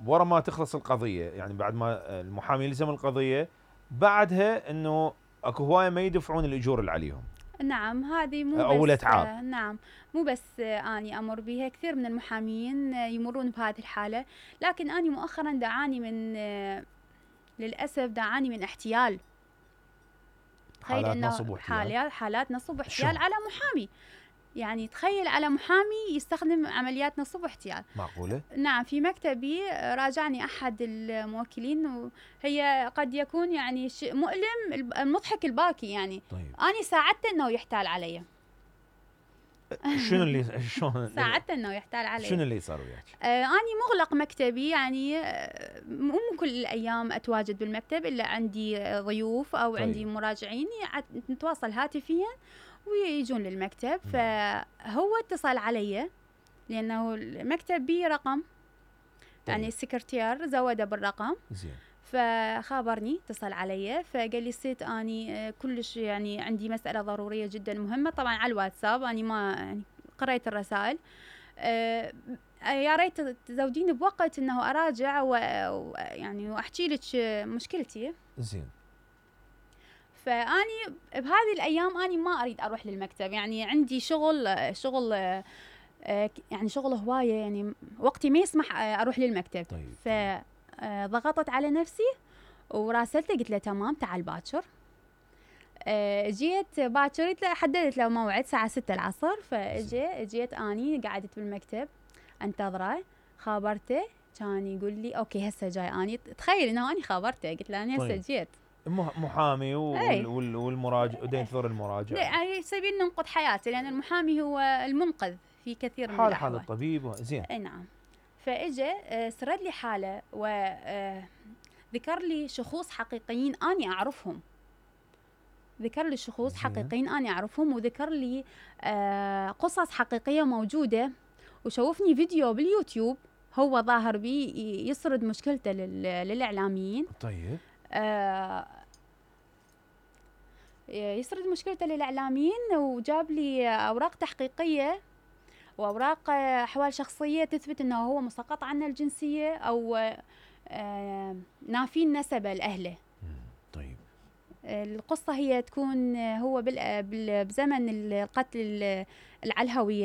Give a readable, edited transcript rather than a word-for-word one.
ورا ما تخلص القضيه، يعني بعد ما المحامي يلزم القضيه بعدها انه اكو هوايه ما يدفعون الاجور اللي عليهم. نعم هذه مو او بس الاتعاب. نعم مو بس اني امر بها، كثير من المحامين يمرون بهذه الحاله، لكن اني مؤخرا دعاني من للاسف دعاني من احتيال. حالات نصب واحتيال. حالات نصب واحتيال على محامي. يعني تخيل على محامي يستخدم عمليات نصب واحتيال. معقوله؟ نعم في مكتبي راجعني احد الموكلين، وهي قد يكون يعني مؤلم المضحك الباكي يعني. طيب. اني ساعدته انه يحتال علي. شنو اللي شلون ساعدته انه يحتال علي؟ شنو اللي صار وياك؟ اني مغلق مكتبي، يعني مو كل الايام اتواجد بالمكتب الا عندي ضيوف او طيب. عندي مراجعين نتواصل هاتفيا ويجون للمكتب. فهو اتصل علي لانه المكتب بي رقم. طيب. يعني السكرتير زوده بالرقم. زين. فخابرني اتصل علي فقال لي ست اني كلش يعني عندي مساله ضروريه جدا مهمه، طبعا على الواتساب اني ما يعني قريت الرسائل. يا ريت تزوديني بوقت انه اراجع ويعني واحكي لك مشكلتي. زين. فاني بهذه الايام اني ما اريد اروح للمكتب، يعني عندي شغل يعني شغل هوايه، يعني وقتي ما يسمح اروح للمكتب. طيب. فضغطت على نفسي وراسلته قلت له تمام تعال باكر. جيت باكر حددت له موعد الساعه 6 العصر. جيت اني قعدت بالمكتب انتظره. خابرته كان يقول لي اوكي هسه جاي. اني تخيل انه اني خابرته قلت له انا هسه جيت. محامي والمراجع ودينثور المراجع، يعني سبيل ننقذ حياته، لان المحامي هو المنقذ في كثير من الاحوال. حال الطبيب. زين. اي نعم. فاجى سرد لي حاله وذكر لي شخوص حقيقيين اني اعرفهم. حقيقيين اني اعرفهم، وذكر لي قصص حقيقيه موجوده، وشوفني فيديو باليوتيوب هو ظاهر بي يسرد مشكلته للاعلاميين. طيب. يسرد مشكلته للاعلاميين، وجاب لي اوراق تحقيقيه واوراق احوال شخصيه تثبت انه هو مسقط عنه الجنسيه او نافين نسبه لاهله. طيب. القصه هي تكون هو بزمن القتل العلهويه